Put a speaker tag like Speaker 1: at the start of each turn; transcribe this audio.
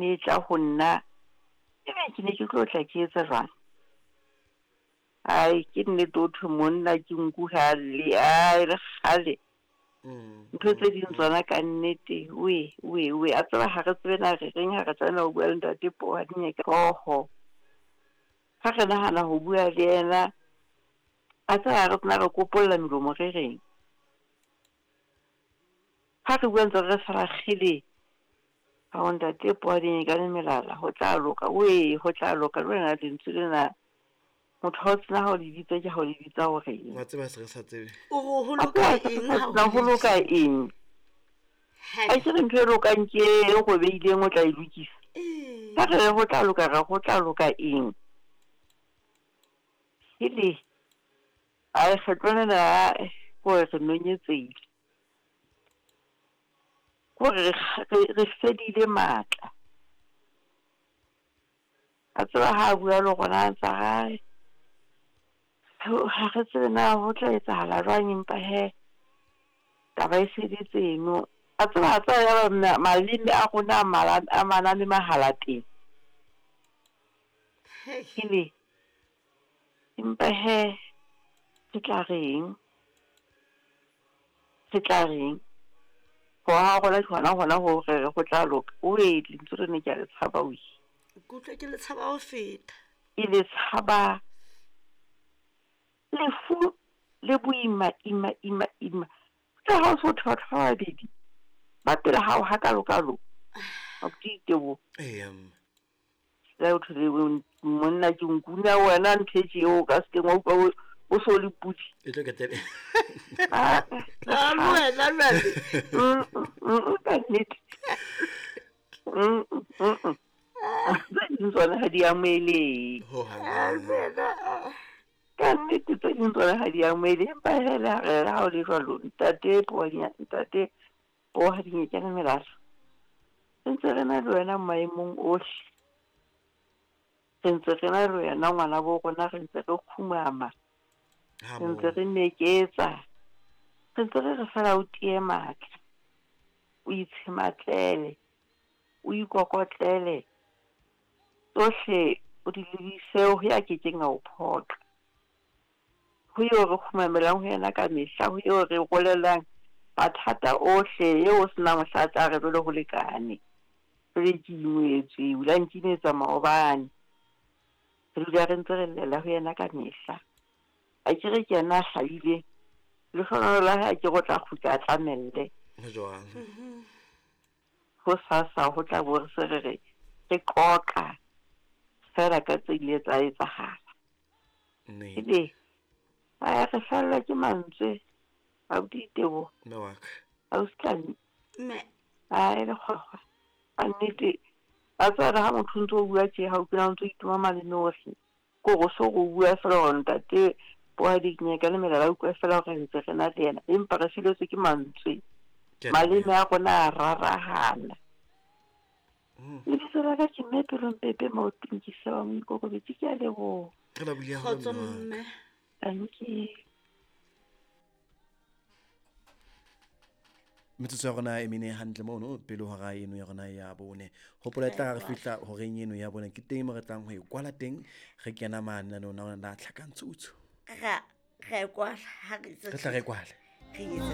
Speaker 1: ne e tla ho nna, ebe ke ne ke tlo tla ke etsa jwang? Ai, ke nnete ho thwe monna ke nku ha a lle, ai le kgale. Ntho tse ding tsona ka nnete, we, we, we, a tseba ha re tsebe na re reng ha re tlameha ho bua le ntate Pohadinyeka hlooho. Ha re nahana ho bua le yena, a tseba ha re tsena re kopolla melomo re reng. Ha re bua ntse re fela kgele, ao ntate Pohadinyeka le melala, ho tla loka, we, ho tla loka, le wena lentswe lena. Motho ha o tsena ha o le bitsa ke ha o le bitsa o reng?
Speaker 2: Wa tseba se re sa tsebe.
Speaker 3: O re ho loka eng ha
Speaker 1: o ho loka eng? A ke re ntho e lokang ke e robeileng o tla e lokisa. Ha re re ho tla loka re ho tla loka eng? Hele, a kgetlo lena ko re nonyetsehile. Ko re re fedile matla. A tseba ha a bua le rona a ntsa hae ha re tsebe na ho tla etsahala jwang empa he taba e sebetse eno. A tseba a tseba ya ba maleme a rona a mala a maname mahalateng. Hele, empa he re tla reng? Re tla reng? Ho ha rona ke hona hona ho re re ho tla loka. Oe, lentswe lena ke a le tshaba oe.
Speaker 3: Ke utlwa ke le tshaba ho feta.
Speaker 1: Ke le tshaba. Lefu le boima ima ima ima. Tla ha o so thwe batho ba babedi ba pele hao hakalokalo. Abuti Diteboho.
Speaker 2: Eya mme.
Speaker 1: La o thole monna ke nkuna wena ntho e tje o ka se keng wa utlwa o so le pudi.
Speaker 2: E tlo ketele.
Speaker 1: Ah,
Speaker 3: Ah, le wena jwale.
Speaker 1: Ka nnete. Mm. Tse ding tsona ha di amohelehe.
Speaker 2: Ho hang.
Speaker 3: Ah, le wena, ah.
Speaker 1: Ka nnete tse ding tsona ha di amohelehe. Empa hele ha re ha o le jwalo ntate Poadinya ntate Poadinyekane melala. Re ntse re na le wena maemong ohle. Re ntse re na le wena ngwana bo rona, re ntse re kgumama.
Speaker 2: Ha
Speaker 1: Re ntse
Speaker 2: moo.
Speaker 1: re meketsa. Re ntse re re fela o tiye matla. O itshematlele. O ikokotlele. Tsohle o di lebise ho ya kekeng a o phoqa. Ho eo re kgumamelang ho yena ka mehla, ho eo re rolelang mathata ohle, eo o senang mohla a tla re jwale ho lekane. Jwale ke ingwetswe, o la nkimetsa maobane. Re dula re ntse re llela ho yena ka mehla. A ke re ke yena a hlahileng. Lehlohonolo la hae a ke re o tla kgutla a tlamelle.
Speaker 2: Ho jwang?
Speaker 1: Ho sasa ho tla bo re se re re re qoqa fela ka tse ile tsa etsahala.
Speaker 2: Nnete.
Speaker 1: Ebe a re fellwa ke mantswe abuti Diteboho.
Speaker 2: Mme wa ka.
Speaker 1: Ausi Tlami.
Speaker 3: Mme.
Speaker 1: Ai le kgwakgwa. A nnete a tseba ha motho o ntso o bua tje ha o kena o ntso itoma maleme ohle. Ko go so go bua fela hore ntate Poadinyeka le melala utlwa fela hore ntse re na le yena empa re feletswe ke mantswe.
Speaker 2: Ke a
Speaker 1: Maleme
Speaker 2: leboha.
Speaker 1: a rona a rarahana. Lebitso la ka ke Mme Pelompepe Maotong ke Sewa Moikokobetsi ke a leboha.
Speaker 2: Re lebohile haholo
Speaker 3: Kgotso
Speaker 2: mme wa ka.
Speaker 3: mme.
Speaker 1: Thank you.
Speaker 2: Metsotso ya rona e mene hantle mono pele hora eno ya rona ya bone. Hopola e tla re fihla horeng eno ya bone ke teng mo re tlang ho e kwala teng re kena mane lenaneong la rona la Tlhakantshutshu.
Speaker 3: Ra ra e kwala ha re
Speaker 2: Re tla re e kwale.
Speaker 3: Re etse